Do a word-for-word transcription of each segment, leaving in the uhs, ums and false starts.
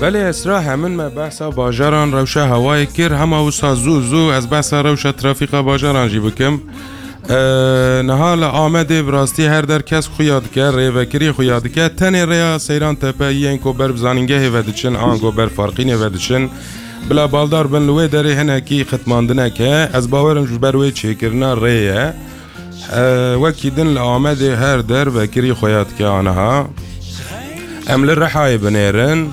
Belê Esra, hemin me behsa bajaran, rewşa hewayê kir, hema wisa zû zû ez behsa rewşa trafîka bajaran jî bikim. Ee, niha li Amedê bi rastî her der kes xuya dike, rêvekirî xuya dike. Tenê rêya Seyran Tepe yên ku ber bi zanîngehê ve diçin, ango ber Farqînê ve diçin. Bila baldar bin li wê derê hinekî xitmandineke. Ez bawerim ji ber wê çêkirina rê ye. Ee, wekî din li Amedê her der vekirî xuya dike aniha. Em li Rihayê binêrin.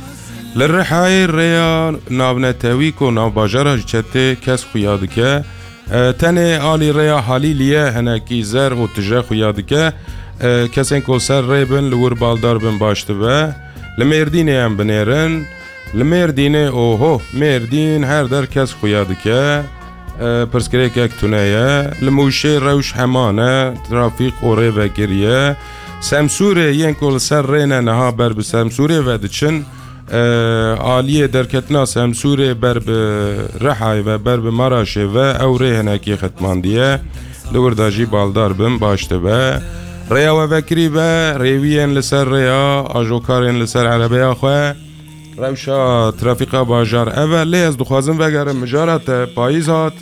Li Rihayê rêya navnetewî ku navbajara ji çetê kes xuya dike. E, tenê alî rêya Halîlî ye, hinekî zer û tije xuya dike. E, kesên ku ser rê bin, li wir baldar bin baş dibe. Li Mêrdînê em binêrin. Li Mêrdînê, oho, Mêrdîn her der kes xuya dike. E, pirsgirêkek tune ye. Li Mûşê rewş heman e, trafîk û rê vekirî ye. Semsûrê yên ku li ser rê ne niha ber bi Semsûrê ve diçin. E, aliyê derketina Semsûrê ber bi Rihayê ve, ber bi Maraşê ve ew rê hinekî xitmandiye. Li wir de jî baldar bin baş dibe. Rêya we vekirî be, rêwiyên li ser rêya, ajokarên li ser erebeya xwe. Rewşa trafîka bajar ev e, lê ez dixwazim vegerim mijara te, payîz hat.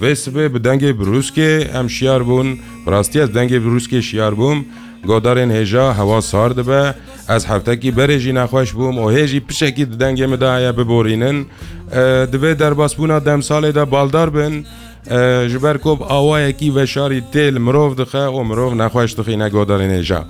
Vê sibê bi dengê birûskê em şiyar bûn. Bi rastî ez dengê birûskê şiyar bûm. Godarên hêja hewa sar dibe. Ez heftekî berê jî nexweş bûm û hê jî pişekî di dengê min de heye biborînin. E, di vê derbasbûna demsalê de baldar bin. E, ji ber ku bi awayekî veşarî tê li mirov dixe û mirov nexweş dixîne godarên hêja.